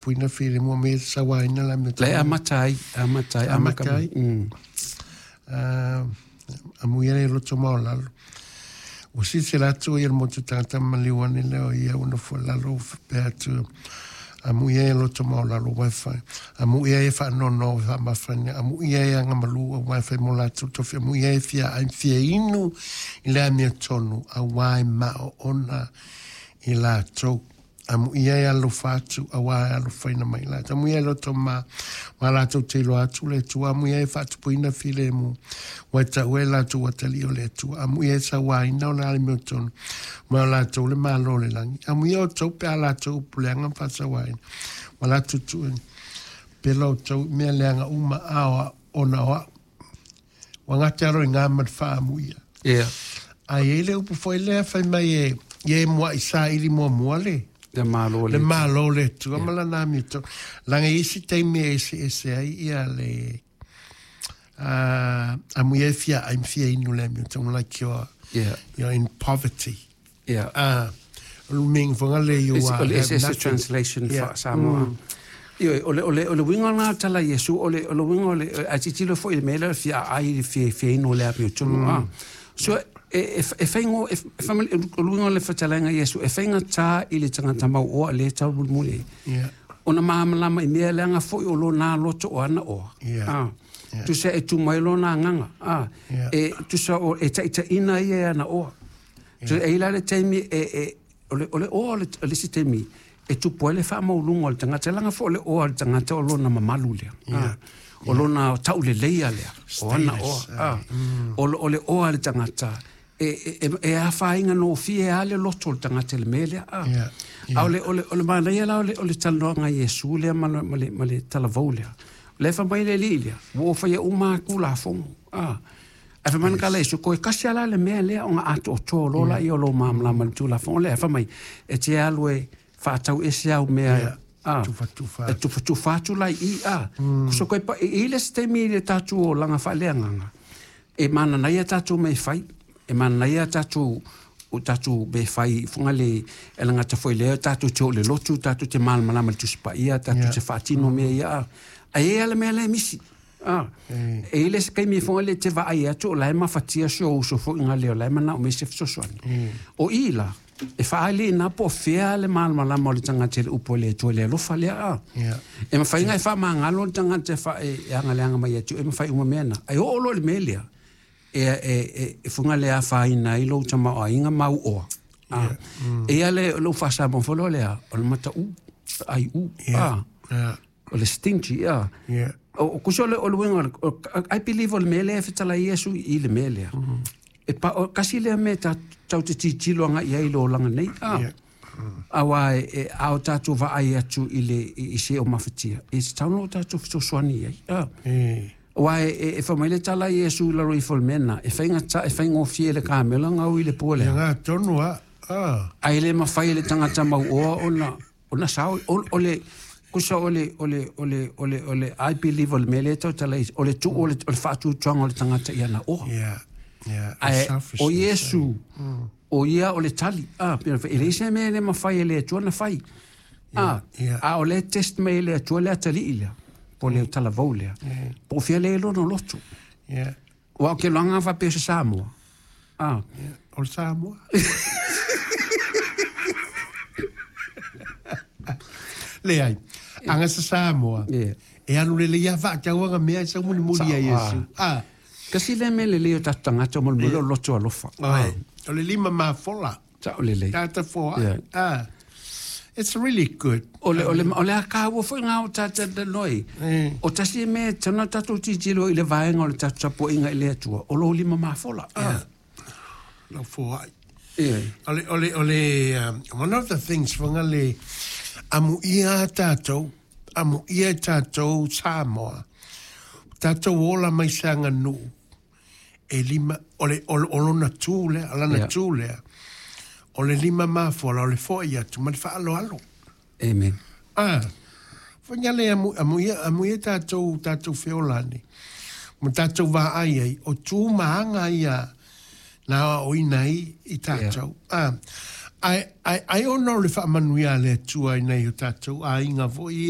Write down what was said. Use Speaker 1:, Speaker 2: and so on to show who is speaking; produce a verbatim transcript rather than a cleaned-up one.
Speaker 1: Puina fili mua me sauaina la me
Speaker 2: Le amata ai, amata ai,
Speaker 1: Amata ai.
Speaker 2: Mm.
Speaker 1: uh, amuia le loto maolalo. Ua silasila atu ia le motu tagata ma maliu ane lea o ia ua nofo i lalo ua faapea atu amuia e loto maolalo uae fai amuia e faanoanoa ua faamafana amuia e agamalu auā e fai mo latou tofi amuia e fia ai fia inu i le amiotonu auā e maoona i latou amuia e alofa atu auā e alofaina mai latou amuia e loto ma ma latou te iloa atu le Atua amuia e faatupuina filemu ua e taua e latou atalii o le Atua amuia e sauaina o le amiotonu ma o latou le Malo o le lagi amuia outou pe a latou upu leaga ma faasauaina ma latou tuuina pela outou i mea leaga uma a o ona o au ua gata alo i ngā ma le faamuia.
Speaker 2: Yeah.
Speaker 1: A i ai le upu foi lea fai mai e ia e mua'i saili muamua le
Speaker 2: Le malo
Speaker 1: le
Speaker 2: le.
Speaker 1: Malo o le Atua ma lana amiotonu laga i isi taimi e eseese ai ia le uh, amuia e fia ai ma fia inu le amiotonu, like you're,
Speaker 2: Yeah.
Speaker 1: you're in poverty.
Speaker 2: Yeah.
Speaker 1: Ah, o le umiga foga le you
Speaker 2: It's,
Speaker 1: are
Speaker 2: o le
Speaker 1: have
Speaker 2: it's, it's a
Speaker 1: nothing.
Speaker 2: Translation
Speaker 1: Yeah.
Speaker 2: yeah. Samoa. Mm. Ioe, o le, o le, o le uiga lena tala Iesu, o le, o le uiga o le, a tilotilo foi i le mea lea o le fia ai le fia, fia inu le amiotonu. Mm. Ah. So, e, e, e faigo, e, e famali, o le uiga o le fetalaiga Iesu, e faigatā i le tagata mauoa le tau mulimuli ai.
Speaker 1: Yeah.
Speaker 2: Ona malamalama i mea leaga foi o lona loto o ana oa.
Speaker 1: Yeah.
Speaker 2: Ah.
Speaker 1: Yeah.
Speaker 2: Tusa e tu mai lona agaga. Ah.
Speaker 1: Yeah.
Speaker 2: E tusa o e taitaiina ia e ana oa. So, e ila le taimi e, e, o le, o le oa o le, o le isi taimi, e tupu ai le faamauluga o le tagata, laga foi o le oa o le tagata o lona mamalu lea.
Speaker 1: Yeah.
Speaker 2: Ah. O lona tauleleia lea. O ana oa.
Speaker 1: Status,
Speaker 2: Ah. O, le- o le oa le tagata. E, e, e, e afaina no fie a le loto o le tagata i le mea lea. Ah.
Speaker 1: Yeah.
Speaker 2: A o le, o le, o le manaia la o le, o le talanoaga a Iesu lea ma, le- ma, le, ma le talavou lea. O le fai mai le alii lea, ua ou faia uma atu lafoga. Ah. Ae fai mai na kala Iesu, koe kasi ala le mea lea o nga atoatoa o lola ia o lo malamalama le tulafono lea. Fai mai, e te alu e faatau ese au mea.
Speaker 1: Yeah.
Speaker 2: Ah.
Speaker 1: Tufatufa
Speaker 2: E tufatufa atu lai i a. Mm. So koe pa, e i le se taimi i le tātou o langa faaleagaga. E mananaia tātou me fai. E mananaia tātou o tātou me fai funga le e langa ta foi lea tātou te o le lotu, tātou te malamalama le tusipaia, tātou
Speaker 1: Yeah.
Speaker 2: te whaatino mea ia. A. A e ala mea le misi. Ah. E i le se kaimi funga le te vaai atu o lae mafatia si o uso foi ngā leo lae mana o me se fesoasoani. O i la, e whaale i nā po fea le malamalama o le tangata i le upo le Atua le alofa lea a.
Speaker 1: Yeah.
Speaker 2: E mawhai ngai wha mangalo le tangata e wha e, e anga le anga mai atu, e mawhai uma mea na. Ai o olo le mea lea, e, e, e, e funga le a whaina i lou tama o ainga mau oa. Ah. E ia le lou whasa mawholo lea, o le mata u, ai u,
Speaker 1: Yeah.
Speaker 2: ah.
Speaker 1: Yeah.
Speaker 2: O le stingy, ah.
Speaker 1: Yeah.
Speaker 2: O, o kuso le o le uiga o le- o- I believe o le mea lea e fetala Iesu i le mea lea. E pa, o, kasi lea mea ta, tau te titilo anga i ai lo langa nei. Ah.
Speaker 1: Yeah.
Speaker 2: Aua e, e ao tātou vaai atu i le i, i se o mafatia. E se tau no tātou fesoasoani ai. Ah.
Speaker 1: Eh.
Speaker 2: Aua e, e, e whamai le tala Iesu i laro i fo le mea na. E whainga ta, e whainga fie le kamela ngau i le pua
Speaker 1: Ia
Speaker 2: lea.
Speaker 1: ngā tonu a. Ah.
Speaker 2: Ai le mawhai le tangata mau oa o na, o na sao, o, o le, kusa o le, o le, o le, o le, o le, I believe o le mea lea tau tala i, o le tu, o le, o le whaatutuanga o le tangata i ana oa.
Speaker 1: Yeah. Yeah.
Speaker 2: Ae, o
Speaker 1: Selfishness.
Speaker 2: Iesu, o ia o le tali. Ah, pena e le se mea le mawhai e le Atua na whai. Ah,
Speaker 1: yeah.
Speaker 2: a o le test me le Atua le atali i lea. Po le talavou lea. Po fia le lono loto.
Speaker 1: Yeah.
Speaker 2: Wa o ke loanga whapea se Samoa. Ah,
Speaker 1: Yeah. O le Samoa. Le ai. Anga sa Samoa.
Speaker 2: Yeah.
Speaker 1: E anu le le ia whaatauanga mea e sau muli muli a Iesu. Ah.
Speaker 2: Kasi le mea le leo tatu tangata mo le mole o loto alofa.
Speaker 1: Ai. O le lima mafola.
Speaker 2: Sa o le lei.
Speaker 1: Tata foa.
Speaker 2: Yeah.
Speaker 1: Ah. It's really good.
Speaker 2: O le, o le, o le a kāua foi ngā o tātou te noi.
Speaker 1: Mm.
Speaker 2: O tasi e mea, tana tātou titilo i le vaenga o le tātou tapuaiga i le Atua. O lo lima mafola. Ah.
Speaker 1: Lau foa.
Speaker 2: Yeah.
Speaker 1: O le, o le, o le, um, one of the things whanga le, amu ia tātou, amu ia tātou Samoa, tātou ola mai se anga nuu, e lima, o le, o, le- o lona tū lea, o lana
Speaker 2: Yeah.
Speaker 1: tū lea, o le lima mafola, o le fo'i atu, ma le whaaloalo.
Speaker 2: Amen.
Speaker 1: Ah, whanga le amu, amu ia, amu ia tātou, tātou feolani, ma tātou vaai ai, o tū maanga ia, nā o ina i, i tātou. Yeah. Ah, Ai ai ai ona o le faamanuia a le Atua i nai o tatou aiga foi ia.